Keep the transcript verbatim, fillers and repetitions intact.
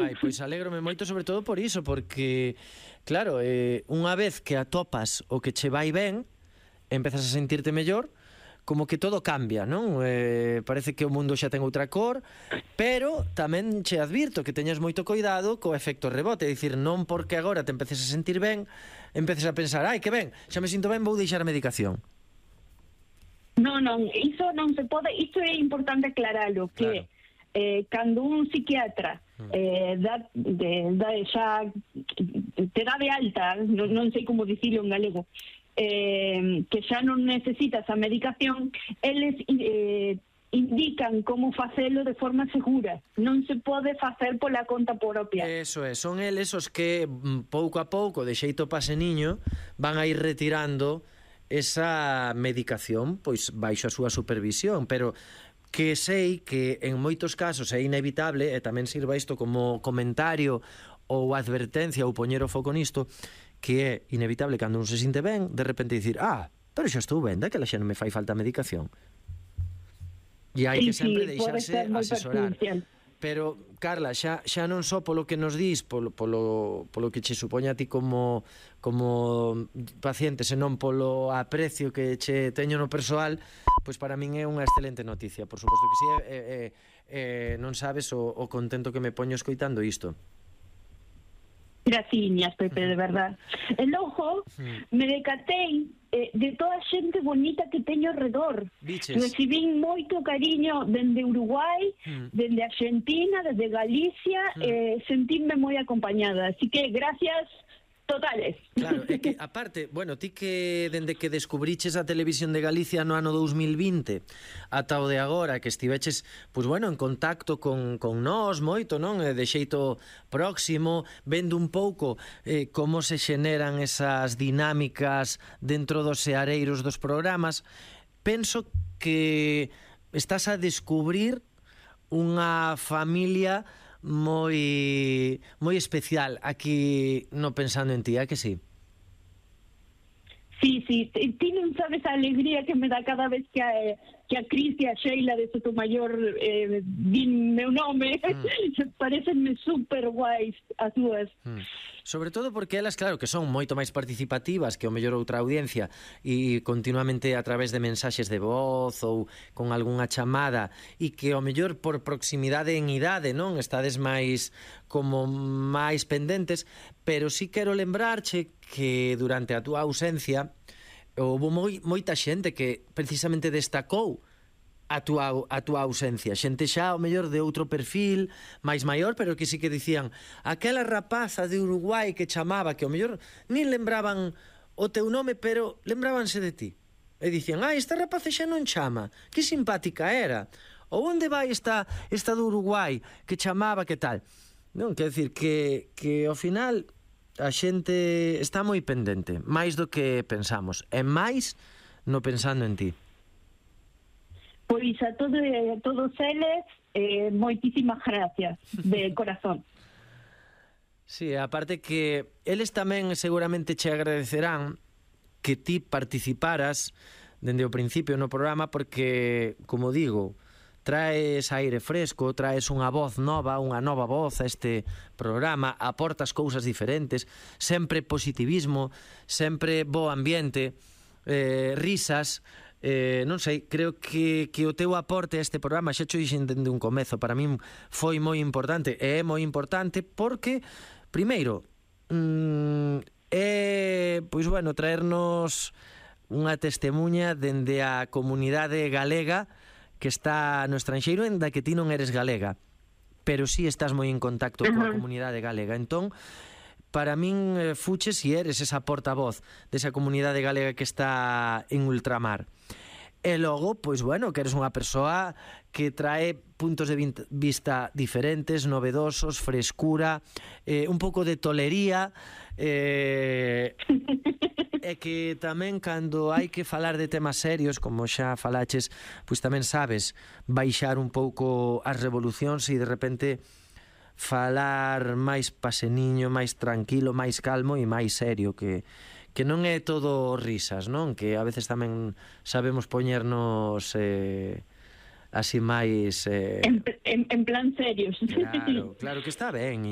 Ai, pois alégrome moito sobre todo por iso, porque, claro, eh, unha vez que atopas o que che vai ben, empezas a sentirte mellor, como que todo cambia, non? Eh, parece que o mundo xa ten outra cor, pero tamén che advirto que teñas moito cuidado co efecto rebote, é dicir, non porque agora te empeces a sentir ben, empeces a pensar, ai, que ben, xa me sinto ben, vou deixar a medicación. Non, non, iso non se pode, iso é importante aclaralo, que Claro. eh, cando un psiquiatra eh, dá, de, dá xa te dá de alta, non, non sei como dicilo en galego, eh, que xa non necesitas a medicación, eles eh, indican como facelo de forma segura, non se pode facer pola conta propia. Eso é, son eles os que mm, pouco a pouco, de xeito paseniño, van a ir retirando esa medicación, pois baixo a súa supervisión, pero que sei que en moitos casos é inevitable, e tamén sirva isto como comentario ou advertencia ou poñer o foco nisto, que é inevitable cando un se sinte ben, de repente dicir, ah, pero xa estou ben, daquela xa non me fai falta medicación. E hai Sí, que sempre sí, pode deixarse ser moi asesorar. perjudicial. Pero, Carla, xa, xa non só polo que nos dís, polo, polo, polo que che supoña a ti como, como paciente, senón polo aprecio que che teño no persoal, pois para min é unha excelente noticia. Por suposto que sí, e, e, e, non sabes o, o contento que me poño escoitando isto. Graciñas, Pepe, de verdad. E logo me decatei eh, de toda a xente bonita que teño ao redor. Biches. Recibín moito cariño dende Uruguai, Mm. dende Argentina, desde Galicia, Mm. eh, sentíme moi acompañada. Así que gracias totales. Claro, é que, aparte, bueno, ti que dende que descubriches a Televisión de Galicia no ano dous mil vinte ata o de agora, que estiveches, pois bueno, en contacto con, con nós moito, non? De xeito próximo, vendo un pouco eh, como se xeneran esas dinámicas dentro dos seareiros dos programas, penso que estás a descubrir unha familia moi moi especial aquí no Pensando en Ti, a que sí? Sí, sí, ti ti non sabes a alegría que me dá cada vez que a, que a Cris e a Sheila de Sotomayor eh, din meu nome. Mm. Parecenme super guais as dúas. Mm. Sobre todo porque elas, claro, que son moito máis participativas que o mellor outra audiencia e continuamente a través de mensaxes de voz ou con algunha chamada e que o mellor por proximidade en idade, non? Estades máis como máis pendentes, pero sí quero lembrarche que durante a túa ausencia houve moi, moita xente que precisamente destacou a túa, a túa ausencia. Xente xa, ao mellor, de outro perfil, máis maior, pero que sí que dicían aquela rapaza de Uruguai que chamaba, que ao mellor nin lembraban o teu nome, pero lembrábanse de ti. E dicían, ah, esta rapaza xa non chama, que simpática era. Ou onde vai esta, esta do Uruguai que chamaba, que tal? Non, quer decir que, que ao final a xente está moi pendente, máis do que pensamos, e máis no Pensando en Ti. Pois a, todo, a todos eles, eh, moitísimas gracias, de corazón. Sí, aparte que eles tamén seguramente che agradecerán que ti participaras dende o principio no programa porque, como digo, traes aire fresco, traes unha voz nova, unha nova voz a este programa, aportas cousas diferentes, sempre positivismo, sempre bo ambiente, eh, risas. Eh, non sei, creo que, que o teu aporte a este programa, xa xo dixen dende un comezo, para min foi moi importante e é moi importante porque, primeiro, mm, é, pois bueno, traernos unha testemunha dende a comunidade galega que está no estranxeiro, en da que ti non eres galega, pero sí estás moi en contacto coa comunidade galega. Entón, para min, eh, fuches e eres esa portavoz desa comunidade galega que está en ultramar. E logo, pois bueno, que eres unha persoa que trae puntos de vista diferentes, novedosos, frescura, eh, un pouco de tolería, eh, e que tamén cando hai que falar de temas serios, como xa falaches, pois tamén sabes baixar un pouco as revolucións e de repente falar máis paseniño, máis tranquilo, máis calmo e máis serio, que que non é todo risas, non? Que a veces tamén sabemos poñernos eh, así máis... Eh... En, en, en plan serios. Claro, claro que está ben,